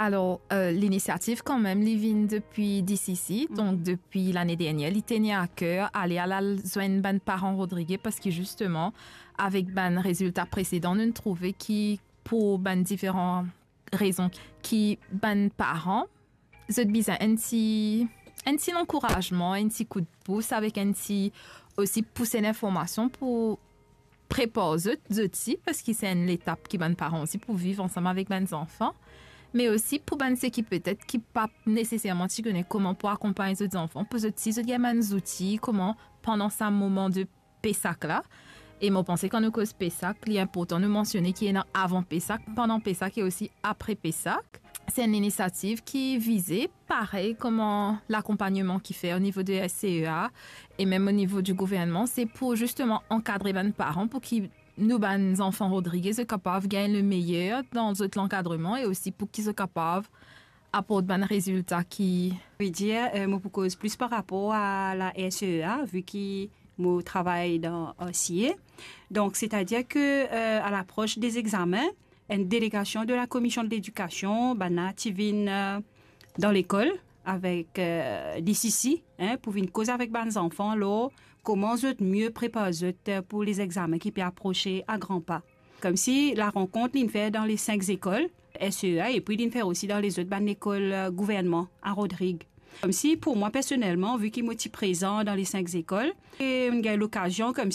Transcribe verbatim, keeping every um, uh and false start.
Alor, eh, linisiativ kanmem, li vinn depi D C C, donk depi lane dernie, li tenir a ker ale al, al zwenn bann paran Rodrig, parski zisteman, avek bann rezilta presedan, nou trouve ki pou bann diferan rezon ki bann paran, zot bizin enn ti, enn ti lankourazman, enn ti koudpous, avek enn ti osi pouse linformasion pou prepar zot, zot osi, parski se enn letap ki bann paran osi pou viv ansam avek bann zanfan, me osi pou bann seki petet ki pa neseserman ti kone kouma pou akonpagn zot zanfan, pou zot osi zot gagn bann zouti, kouma pandan sa moman de Pesak la. E mo panse kan nou koz Pesak, li inportan nou mansione ki ena avan Pesak, pandan Pesak e osi apre Pesak. Se enn linisiativ ki vize, parey kouma lakonpagneman ki fer o nivo de S C E A e mem o nivo di gouvernman, se pou zisteman ankadre bann paran pou ki nou bann zanfan Rodrig, zot kapav gagn le meyer dan zot lankadreman e osi pou ki zot kapav aport bann rezilta ki... Vedir, eh, mo pou koz plis par rapor a la S C E A, vi ki mo travay dan R C A. Donk, setadir ke, eh, a lapros de zegzamin, enn delegasion de la Komision de Ledikasion, bann la ti vinn, eh, dan lekol avek, eh, D C C, en, pou vinn koz avek bann zanfan lor kouma zot mie prepar zot, eh, pou lezegzamin ki pe aprose a gran pa. Koumsi larenkont li'nn fer dan le sink lekol S C E A, epi li'nn fer osi dan lezot bann lekol, eh, gouvernman a Rodrig. Koumsi pou mwa personelman, vi ki mo ti prezan dan le sink lekol, e mo'nn gagn lokazion koumsi